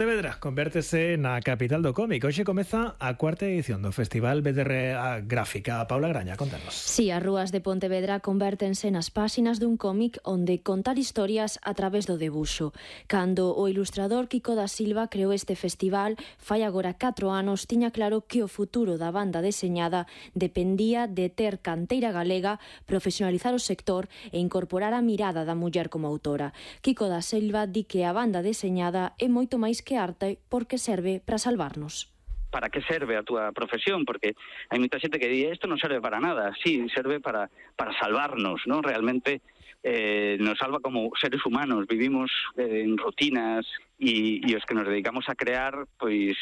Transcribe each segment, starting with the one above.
Pontevedra convértese na capital do cómic. Hoxe comeza a cuarta edición do Festival BDR Gráfica. Paula Graña, contanos. Si, as rúas de Pontevedra convértense nas páxinas dun cómic onde contar historias a través do debuxo. Cando o ilustrador Kiko da Silva creou este festival, fai agora 4 anos, tiña claro que o futuro da banda deseñada dependía de ter canteira galega, profesionalizar o sector e incorporar a mirada da muller como autora. Kiko da Silva di que a banda deseñada é moito máis que arte porque serve para salvarnos. Para que serve a túa profesión? Porque hai moita xente que di isto non serve para nada. Sí, serve para salvarnos, ¿no? Realmente nos salva como seres humanos. Vivimos en rutinas e os que nos dedicamos a crear, pois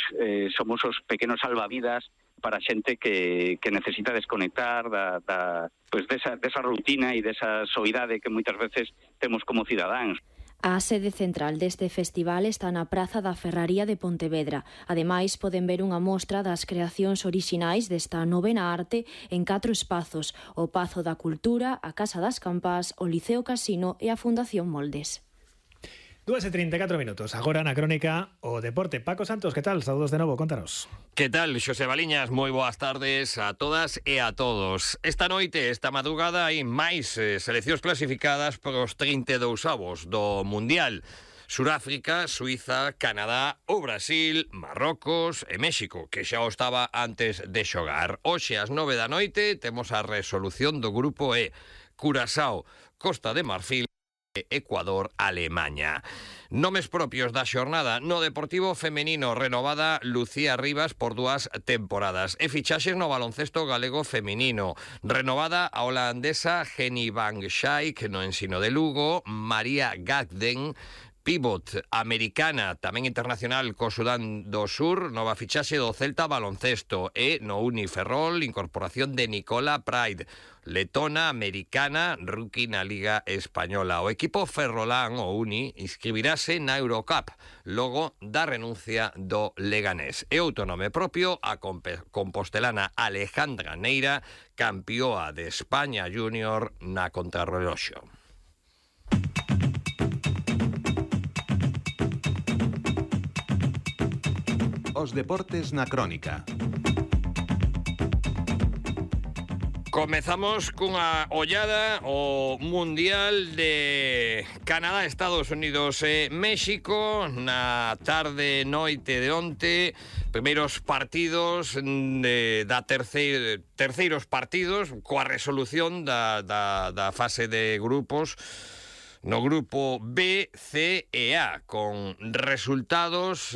somos os pequenos salvavidas para xente que necesita desconectar pois desa rutina e desa soidade que moitas veces temos como cidadáns. A sede central deste festival está na Praza da Ferraría de Pontevedra. Ademais, poden ver unha mostra das creacións orixinais desta novena arte en 4 espazos: o Pazo da Cultura, a Casa das Campás, o Liceo Casino e a Fundación Moldes. 2:34 minutos. Agora na crónica o deporte. Paco Santos, que tal? Saúdos de novo, contanos. Que tal, Xosé Baliñas? Moi boas tardes a todas e a todos. Esta noite, esta madrugada, hai máis seleccións clasificadas para os 32avos do Mundial. Suráfrica, Suiza, Canadá, o Brasil, Marrocos e México, que xa o estaba antes de xogar. Hoxe, ás 9 da noite, temos a resolución do grupo E. Curazao, Costa de Marfil, Ecuador, Alemanha. Nomes propios da xornada: no Deportivo femenino, renovada Lucía Rivas por 2 temporadas, e fichaxes no baloncesto galego femenino, renovada a holandesa Jenny Van Schaik no Ensino de Lugo, María Gagden, pívot americana, tamén internacional co Sudán do Sur, nova fichaxe do Celta baloncesto, e no Uniferrol, incorporación de Nicola Pride, letona americana, rookie na Liga Española. O equipo ferrolán, o Uni, inscribirase na Eurocup, logo da renuncia do Leganés. E outro nome propio, a compostelana Alejandra Neira, campioa de España Júnior na contrarreloxo. Os deportes na crónica. Comezamos cunha ollada ao Mundial de Canadá, Estados Unidos e México. Na tarde noite de onte, primeiros partidos terceiros partidos coa resolución da fase de grupos no grupo B, C e A, con resultados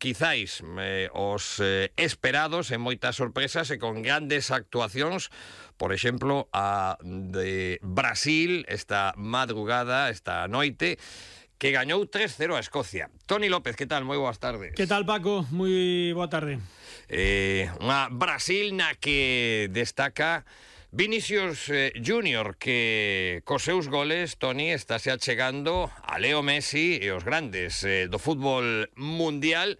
quizáis os esperados e moitas sorpresas e con grandes actuacións. Por exemplo, a de Brasil esta madrugada, esta noite, que gañou 3-0 a Escocia. Toni López, que tal? Moi boas tardes. Que tal, Paco? Moi boa tarde. Unha Brasil na que destaca Vinicius Júnior, que cos seus goles, Toni, estáse achegando a Leo Messi e os grandes do fútbol mundial,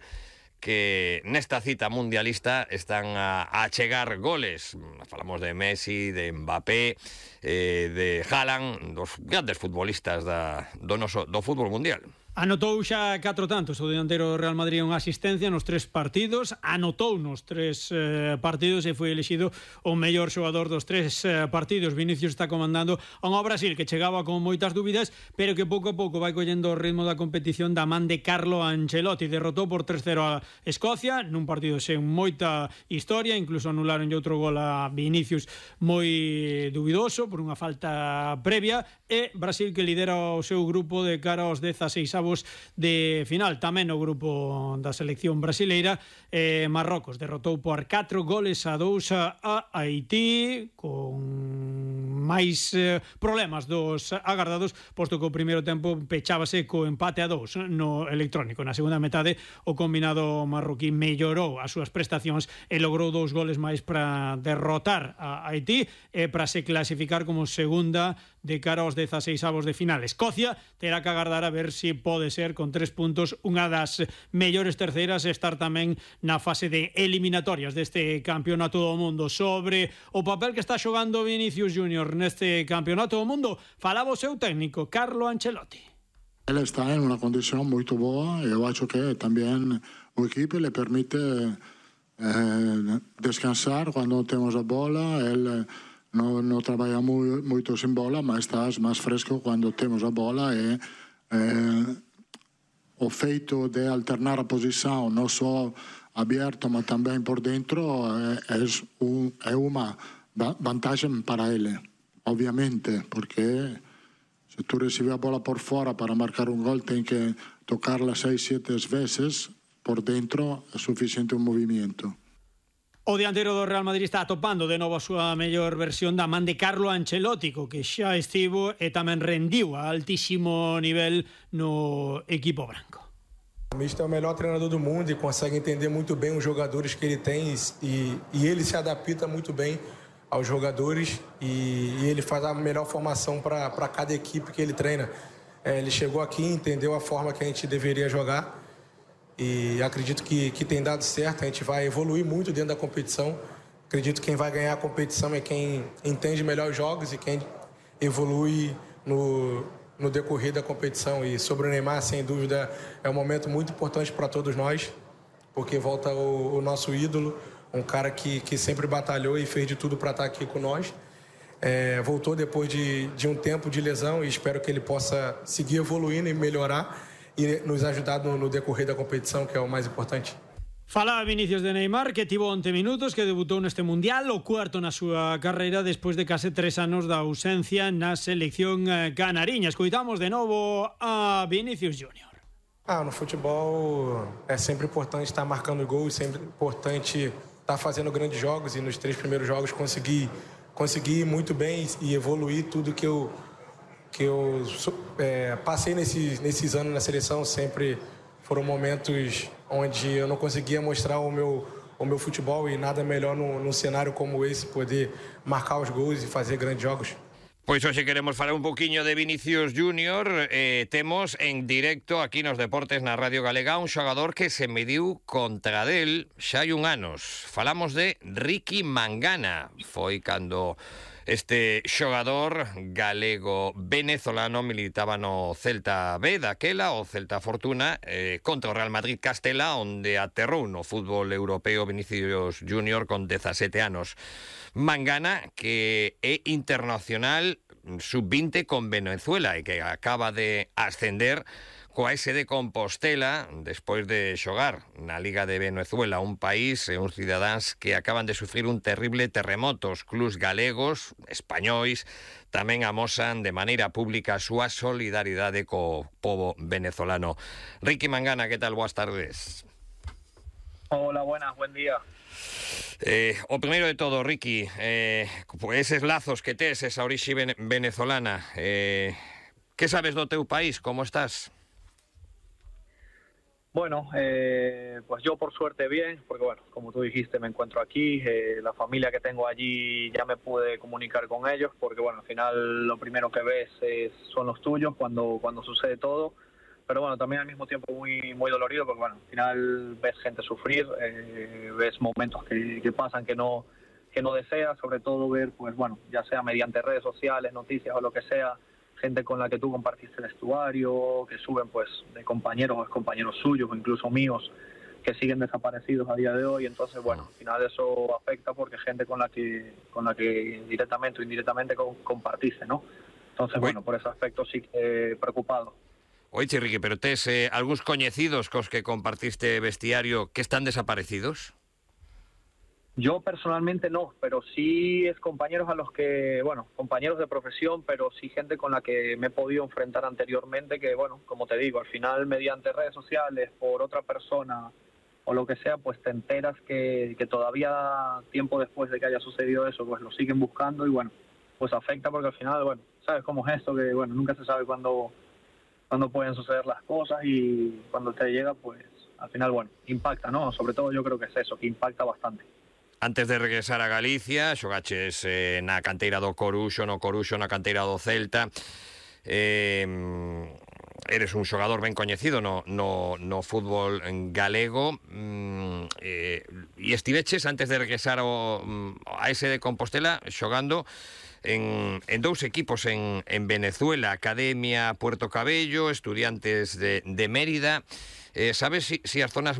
que nesta cita mundialista están a achegar goles. Falamos de Messi, de Mbappé, de Haaland, dos grandes futbolistas do fútbol mundial. Anotou xa 4 tantos o dianteiro do Real Madrid, unha asistencia nos 3 partidos, anotou nos 3 partidos e foi elexido o mellor xogador dos 3 partidos. Vinicius está comandando a unha Brasil que chegaba con moitas dúbidas, pero que pouco a pouco vai collendo o ritmo da competición da man de Carlo Ancelotti. Derrotou por 3-0 a Escocia nun partido sen moita historia, incluso anularon outro gol a Vinicius moi dubidoso por unha falta previa, e Brasil que lidera o seu grupo de cara aos 16avos de final. Tamén o grupo da selección brasileira, Marrocos derrotou por 4-2 a Haití, con máis problemas dos agardados, posto que o primeiro tempo pechábase co empate a 2 no electrónico. Na segunda metade, o combinado marroquí mellorou as súas prestacións e logrou 2 goles máis para derrotar a Haití e para se clasificar como segunda de cara aos 16avos de final. Escocia terá que agardar a ver se pode ser con 3 puntos unha das mellores terceiras e estar tamén na fase de eliminatorias deste campeonato do mundo. Sobre o papel que está xogando Vinicius Júnior neste campeonato do mundo, falaba o seu técnico Carlo Ancelotti. Él está en una condición muy buena y yo acho que también el equipo le permite descansar cuando tenemos la bola. Él no trabaja mucho sin bola, pero estás más fresco cuando tenemos la bola y el feito de alternar a posición no solo abierto, pero también por dentro es una ventaja para él, obviamente, porque si tú recibes la bola por fuera para marcar un gol, tienes que tocarla 6-7 veces. Por dentro é suficiente un movimento. O dianteiro do Real Madrid está atopando de novo a súa mellor versión da man de Carlo Ancelotti, que xa estivo e tamén rendiu a altísimo nivel no equipo branco. O Mister é o melhor treinador do mundo e consegue entender muito bem os jogadores que ele tem e ele se adapta muito bem aos jogadores e ele faz a melhor formação para cada equipe que ele treina. Ele chegou aqui, entendeu a forma que a gente deveria jogar e acredito que tem dado certo. A gente vai evoluir muito dentro da competição. Acredito que quem vai ganhar a competição é quem entende melhor os jogos e quem evolui no decorrer da competição. E sobre o Neymar, sem dúvida, é um momento muito importante para todos nós, porque volta o nosso ídolo, um cara que sempre batalhou e fez de tudo para estar aqui com nós. Voltou depois de um tempo de lesão e espero que ele possa seguir evoluindo e melhorar e nos ajudar no decorrer da competição, que é o mais importante. Fala Vinicius de Neymar, que tivo 11 minutos, que debutou neste Mundial, o cuarto na súa carreira despois de case 3 anos da ausencia na selección canariña. Escoitamos de novo a Vinicius Júnior. No futebol é sempre importante estar marcando gols, sempre importante estar fazendo grandes jogos e nos 3 primeiros jogos conseguir muito bem e evoluir tudo que eu passei nesses anos na seleção. Sempre foram momentos onde eu não conseguia mostrar o meu futebol e nada melhor num cenário como esse, poder marcar os gols e fazer grandes jogos. Pois hoxe queremos falar un poquinho de Vinicius Júnior. Temos en directo aquí nos Deportes na Radio Galega un xogador que se mediu contra del xa hai un anos. Falamos de Ricky Mangana. Foi cando este xogador galego-venezolano militaba no Celta B daquela, o Celta Fortuna, contra o Real Madrid Castela, onde aterrou no fútbol europeo Vinicius Júnior con 17 anos. Mangana, que é internacional sub-20 con Venezuela e que acaba de ascender coa SD Compostela despois de xogar na Liga de Venezuela, un país e uns cidadáns que acaban de sufrir un terrible terremoto. Os clubs galegos, españois, tamén amosan de maneira pública a súa solidaridade co pobo venezolano. Ricky Mangana, que tal? Boas tardes. Hola, buenas, buen día. O primeiro de todo, Ricky, eses lazos que tes, esa orixe venezolana, que sabes do teu país? Como estás? Bueno, pues yo por suerte bien, porque bueno, como tú dijiste, me encuentro aquí, la familia que tengo allí ya me pude comunicar con ellos, porque bueno, al final lo primero que ves son los tuyos cuando sucede todo, pero bueno, también al mismo tiempo muy dolorido, porque bueno, al final ves gente sufrir, ves momentos que pasan que no deseas, sobre todo ver, pues bueno, ya sea mediante redes sociales, noticias o lo que sea, gente con la que tú compartiste el vestuario, que suben pues de compañeros o excompañeros suyos o incluso míos que siguen desaparecidos a día de hoy. Entonces bueno, al final eso afecta porque gente con la que directamente o indirectamente compartiste, ¿no? Entonces bueno, por ese aspecto sí que preocupado. Oye, Ricky, pero tes algúns coñecidos cos que compartiste vestiario que están desaparecidos? Yo personalmente no, pero sí es compañeros a los que, bueno, compañeros de profesión, pero sí gente con la que me he podido enfrentar anteriormente, que bueno, como te digo, al final mediante redes sociales, por otra persona o lo que sea, pues te enteras que todavía tiempo después de que haya sucedido eso, pues lo siguen buscando y bueno, pues afecta porque al final, bueno, sabes cómo es esto, que bueno, nunca se sabe cuándo pueden suceder las cosas y cuando te llega, pues al final, bueno, impacta, ¿no? Sobre todo yo creo que es eso, que impacta bastante. Antes de regresar a Galicia, xogaches na canteira do Coruxo, na canteira do Celta. eres un xogador ben coñecido no fútbol galego, e estiveches antes de regresar a ese de Compostela xogando en dous equipos en Venezuela, Academia Puerto Cabello, Estudiantes de Mérida. Sabes si as zonas